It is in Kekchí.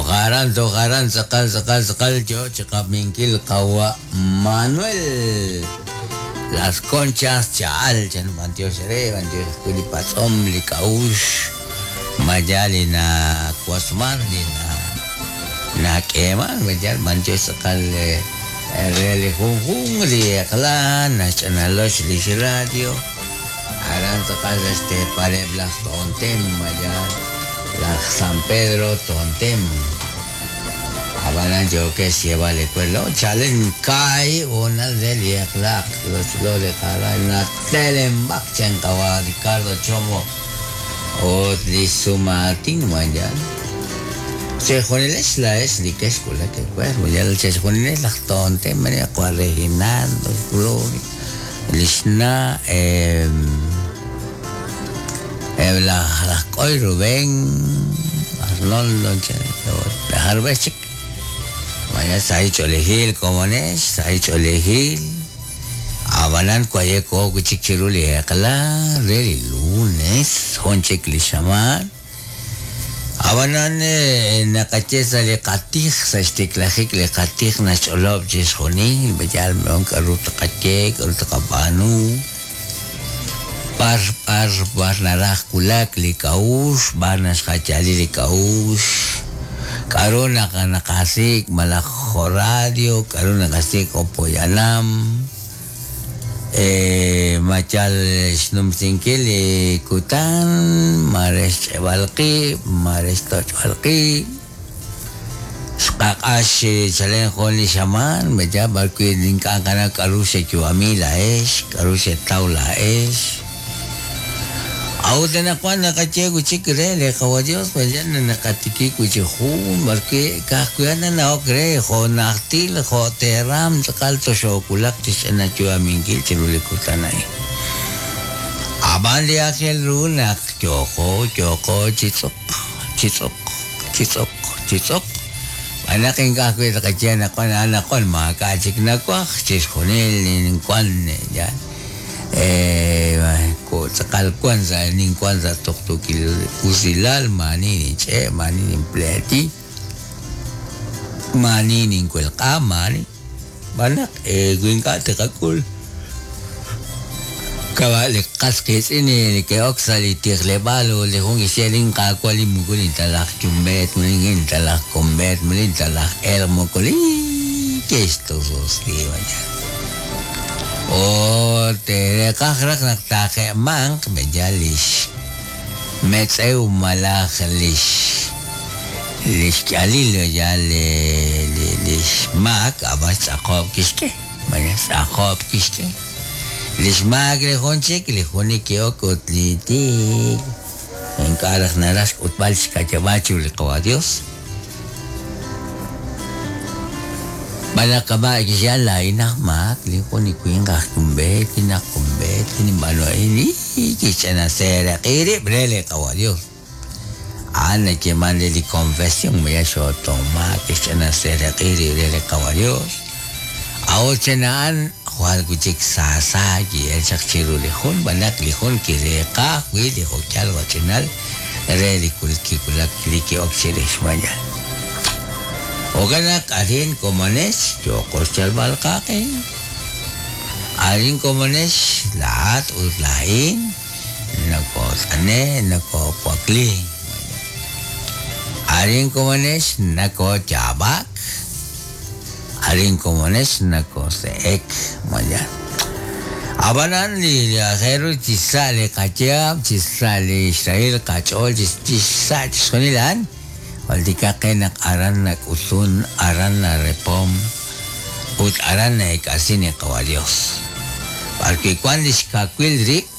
Toj aran, toj aran, tz'aqal, tz'aqal, tz'aqal yo chi qab'inkil qawa' Manuel Las Conchas Cha'al chan b'antiox re, b'antiox ajwi' li patz'om, li k'a'uxl, ma yaal li nawasman, li nak'eeman, ma yaal b'antiox tz'aqal re li junjunq li eq'la naxch'analox lix radio. Aran tz'aqal sa' xteepaleb' laj Tontem, malaj laj San Pedro Tontem. Ab'anan yookex xyeeb'al li we, Lo chalen kaahib' hoonal re li eq'la lochlo li qara natelenb'ak chan qawa' Ricardo Chomo ut li xsumaatin mayal. Chejunilex laa'ex li kexwulak ewer, mayal chejunilex laj Tontem, qawa' Reginaldo, Gloria. Li xna' eb' laj laj K'oy Rubén, Arnoldo, jarub'ex chik. Mañana sahil ch'oolejil komonex, sahil ch'oolejil. Ab'anan waye' koo'ok wi' chik chiru li eq'la re li lunes, jun chik li xamaan. Ab'anan naqaye sa' li qatij, sa' xtiklajik li qatij naxch'olob' chixjunil, yal k'aru tqaye, k'aru tqab'aanu, b'ar b'ar b'ar naraj wulak li k'a'uxl, b'ar naxjayali li k'a'uxl, k'aru naq naqasik' malaj jo' radio, k'aru naqasik' jo' poyanam. Ma yal xnumsinkil li kutan, ma re xch'eb'al qib', ma re xtoch'b'al qib'. Xqaq'ax chalen jun li xamaan, ma yal b'arwi' ink'a' nqanaw k'aru xeyu'ami laa'ex, k'aru xetaw laa'ex. A'ut anaqwan naqaye wi' chik re li Qawa' Yos, ma yal naqatikib' wi' chik jun b'arwi' ka'ajwi' a'an nanawok re jo' najtil jo' teeram tz'aqal toxoowulaq chi xch'ina yu'aminkil chiru li kutan a'in. Ab'an li aajel ru naq yooqo yooqo chi tz'uq, chi tz'uq, chi tz'uq, chi tz'uq, xb'aan naq ink'a' ajwi' tqaye anaqwan anaqwan maak'a' chik nawaj, chixjunil ninwank yal. Tz'aqal wank sa' ninwank sa' tuqtuukil usilal, maa'ani ninch'e', maa'ani ninpleeti, maa'ani ninwelq'a, maa'ani. Xb'aan naq wi ink'a' tiqak'ul kama' li qas qiitz'in li neke'ok sa' li tijleb'aal ut li jun kixye, Linqaawa' li moko ninta laj yumb'eet, moko ninta laj komb'eet, moko ninta laj elq', moko li kixtususli. Ut reeqaj raj naq taaje'manq b'enyal lix metz'ew malaj lix lix k'ihalil b'enyal li lix maak, ab'an xtz'aqob' kixk'e, malaj xtz'aqob' kixk'e. Lix maak li jun chik, li jun li ki'ok ut li tiik ink'a' raj naraj xk'utb'al xka'yab'aal chiru li Qawa' Dios. Xb'aan naq kama' kixye, Laa'in aj maak, lin jun li winq aj yumb'eet, lin aj komb'eet, li ninb'aanu a'in, kixch'ina seeraq'i rib' re li Qawa' Dios. A'an nayeeman re li konfesion, maya xootoonmaak, kixch'ina seeraq'i rib' re li Qawa' Dios. A'ut chen a'an jwal wi' chik saasa ki'el chaq chiru li jun, xb'aan naq li jun kireeqa ajwi' li jo'k'ihal jo'ch'inal re li kiwulak li ki'ok chirix maya. Jo'kan naq arin komonex yooqo xyalb'al qaq'e. Arin komonex laa'at ut laa'in nokoot'ane' nokoowakli. Arin komonex nakooyaab'ak. Arin komonex nakoose'ek maya. Ab'anan li aajel ru chi sa' li qayaab', chi sa' li xrahil qach'ool, chi sa' chixjunil a'an, jultikaq qe naq aran nak'utun, aran narepom ut aran na'eek'asin li Qawa' Dios. B'arwi' wan li xkawil rib'.